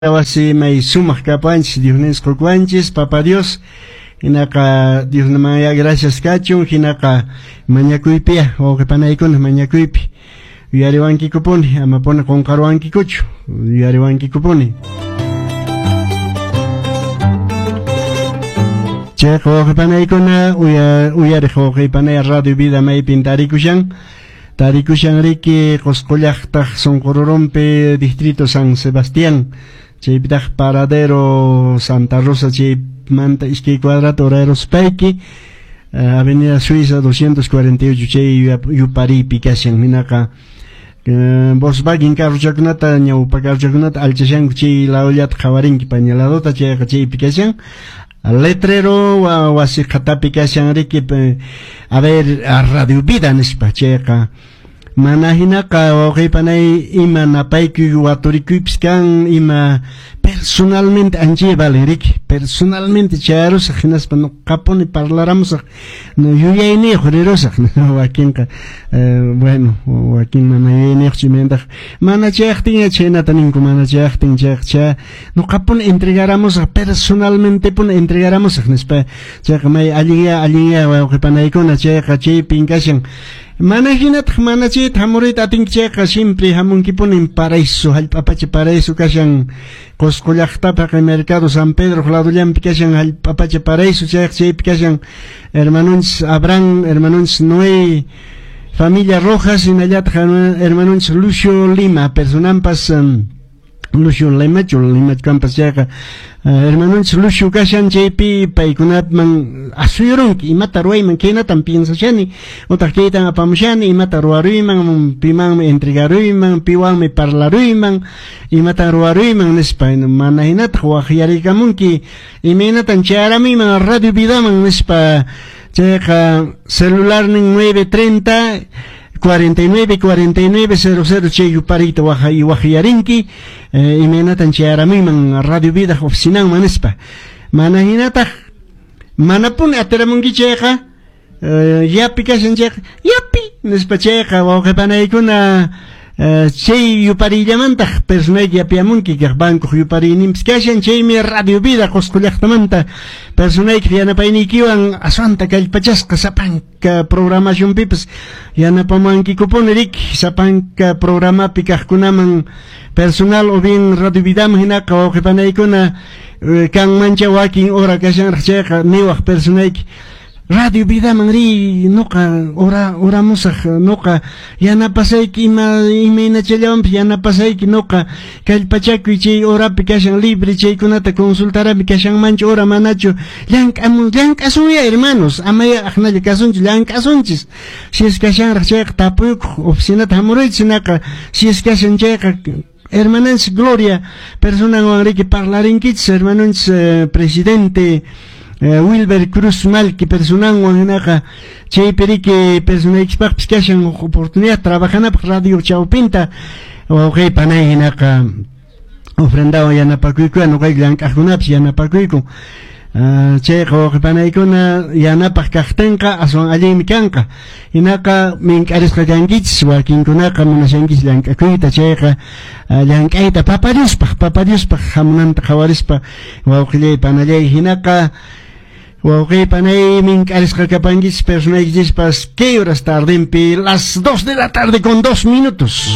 Wasi may sumaq kapanchis, Diosninchis qukuwanchis, Papa Dios. Hinaqa Diosmanya gracias kachun, hinaqa mañakuypiya, wawqi panaykuna mañakuypi. Yuyariwankikupuni, amapuni qunqaruwankikuchu, yuyariwankikupuni. Chayqa wawqi panaykuna, uyariq wawqi panay Radio Vida maypin tarikushan. Tarikushan riki Qusqu llaqtaq Sunqururumpi distrito San Sebastián, chaypitaq Paradero Santa Rosa chaymanta iskay cuadrata uraruspayki, Avenida Suiza 248 chay yupariypi kashan. Hinaqa Volkswagen carrochakunata ñawpa carrochakunata alchashanku chay ladollata qhawarinki paña ladota, chayqa chaypi kashan. Letrero wasi qhatapi kashan riki, a ver, Radio Vida nispa chayqa. Mana hinaqa wawqi panay ima napaykuy waturikuypis kan, ima personalmente anchay valen riki, personalmente chayarusaq hinaspa nuqapuni parlaramusaq, yuyayniyuq rirusaq. Wakinqa bueno, wakin mana yuyayniyuq chimantaq mana chayaqtin chhaynata ninku, mana chayaqtin chayqa chay nuqapuni entregaramusaq, personalmente puni entregaramusaq nispa. Chayqa may allinya allinya wawqi panaykuna, chayqa chaypin kashan. Mana hinataq mana chayta hamuruyta atinki chayqa siempre hamunkipunin paraíso, hallp'apacha paraíso kashan Qusqu llaqtapaq Mercado San Pedro ladollanpi kashan hallp'apacha paraíso, chayqa chaypi kashan hermanonchis Abraham, hermanonchis Noé, familia Rojas, hinallataq hermanonchis Lucio Lima, personampas Lucio Limachu, Limachu kampas chayqa hermanonchis Lucio kashan chaypi paykunaman asuyurunki imata ruwayman, khaynatan piensashani, utaq kaytan apamushani, imata ruwaruyman, pimanmi entregaruyman, piwanmi parlaruyman, imatan ruwaruyman nispa. Mana hinataq waqyarikamunki imaynatan chayaramuyman Radio Vidaman nispa. Chayqa celularnin 930 49 49 00 chay yupariyta waqyarinki imaynatan chayaramuyman Radio Vida oficinanman nispa. Mana hinataq manapuni atiramunki chayqa yapi kashan chayqa yapi nispa chayqa wawqi panaykuna chay yupariyllamantaj personayki yapiamunki kaq bancoq yupariyninpis kashan, chaymi Radio Vida Qusqu llaqtamanta personaykiq yanapayniykiwan aswanta kallpachasqa sapanka programacionpipas yanapamankikupuni riki, sapanka programapi kaqkunaman personal o bien Radio Vidaman hinaqa wawqi panaykuna kanmancha wakin hora kashanraq chayqa niwaq personayki Radio Vidaman riy, nuqa oramusaq, nuqa yanapasayki ima imaynachallawanpis yanapasayki, nuqa kallpachakuy chay horapi kashan libre chaykunata consultarami kashanmanchu hora manachu, llank'asunya hermanos, amaya aqnalla kasunchu, llank'asunchis. Si es kashanraq chayqa tapuykuq oficinata hamuruychis, hinaqa si es kashan chayqa hermananchis Gloria personanwan riki parlarinkichis, hermanonchis presidente Wilber Cruz Malki personanwan hinaqa chaypi riki personaykispaqpis kashan oportunidad trabajanapaq radio chawpinta wawqi panay hinaqa ofrendawan yanapakuykuwan nuqayku llank'aqkunapis yanapakuyku. Chayqa wawqi panaykuna yanapaq kaqtinqa aswan allinmi kanqa. Hinaqa mink'arisqa kankichis, wakinkunaqa munashankichis llank'akuyta, chayqa llank'ayta Papa Diospaq hamunanta qhawarispa wawqillay panallay hinaqa wawqi panay mink'arisqa kapankichis personaykichispas, ¿qué horas tardempi? Las 2 de la tarde con 2 minutos.